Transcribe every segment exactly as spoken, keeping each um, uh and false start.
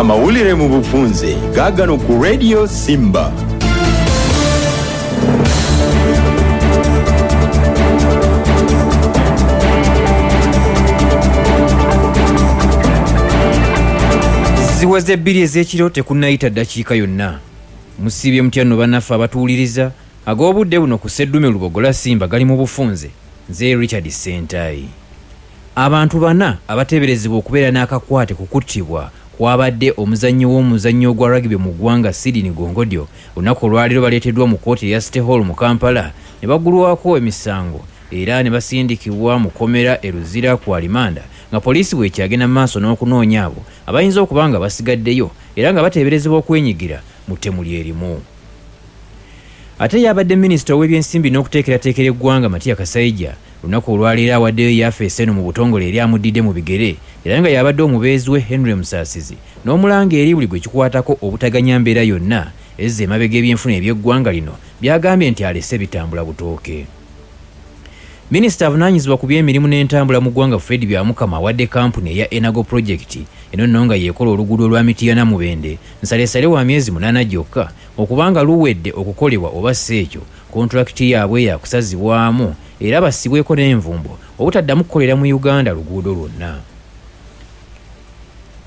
Amawulire mu bufunze gaagano ku Radio Simba. Ziweze ebbiri ez'ekiro tekunnayita ddakiika yonna. Musiibye mutya nno bannaffe abatuwuliriza ag'obudde buno ku Sseddume Lubogola Simba gali mu bufunze. Nze Richard Ssentayi. Abantu bana abateeberezebwa okubeera n'akakwate ku kuttibwa kwabadde omuzannyi w'omuzannyo gwa rugby mu ggwanga Sydney Gongodyo olunaku olwaleero baleeteddwa mu kkooti eya City Hall mu Kampala ne baggulwako emisango era ne basindikibwa mu kkomera e Luzira ku alimanda nga poliisi bw'ekyagenda mu maaso n'okunoonya abo abayinza okuba nga basigaddeyo era nga bateeberezebwa okwenyigira mu ttemu lyerimu. Ate yabadde minisita ow'ebyensimbi n'okuteekerateekera eggwanga Matia Kasaija olunaku olwaleero awaddeyo yafeesi eno mu butongole eri amuddidde mu bigere era nga yabadde omubeezi we Henry Musasizi n'omulanga eri buli gwe kikwatako obutaganya mbeera yonna ezza emabega ebyenfuna eby'eggwanga lino byagambye nti alese bitambula butooke. Minisita avunaanyizibwa ku by'emirimu n'entambula mu ggwanga Fred Byamukama awadde kampuni eya Enago Project eno nno nga yeekola oluguudo lwa Mityana Mubende nsalesale wa myezi munaana gyokka okubanga luwedde okukolebwa oba si ekyo kontulakiti yaabwe yakusazibwamu era bassibweko n'envumbo obutaddamu kukolera mu Uganda luguudo lwonna.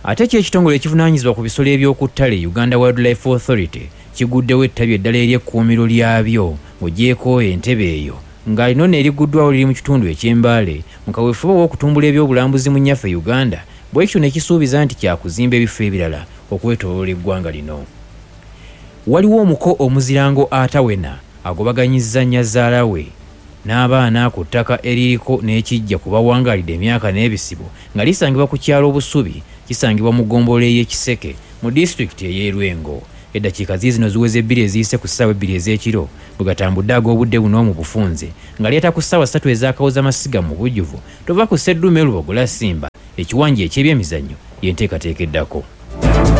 Ate kyo ekitongole ekivunaanyizibwa ku bisolo eby'oku ttale Uganda Wildlife Authority kiguddewo ettabi eddala ery'ekkuumiro lyabyo ng'oggyeeko entebe eyo nga lino n'eriguddwawo liri mu kitundu eky'Embaale mu kaweefube ow'okutumbula ebyobulambuzi mu nnyaffe Uganda bwe kityo ne kisuubiza nti kyakuzimba ebifo ebirala okwetooloola eggwanga lino. Waliwo omuko omuzirango atawena agobaganyizza nnyazaala we n'abaana ku ttaka eririko n'ekijja ku bawangaalidde emyaka n'ebisibo nga lisangibwa ku kyalo Obusubi kisangibwa mu ggombolola ey'e Kiseke mu disitulikiti ey'e Lwengo. Eddakiika ziizino ziweze ebbiri eziyise ku ssaawa ebbiri ez'ekiro bwe gatambudde ag'obudde buno mu bufunze nga leeta ku ssaawa ssatu ez'akawozamasiga mu bujjuvu tova ku Sseddume Lubogola Simba ekiwanja eky'ebyemizannyo y'enteekateeka eddako.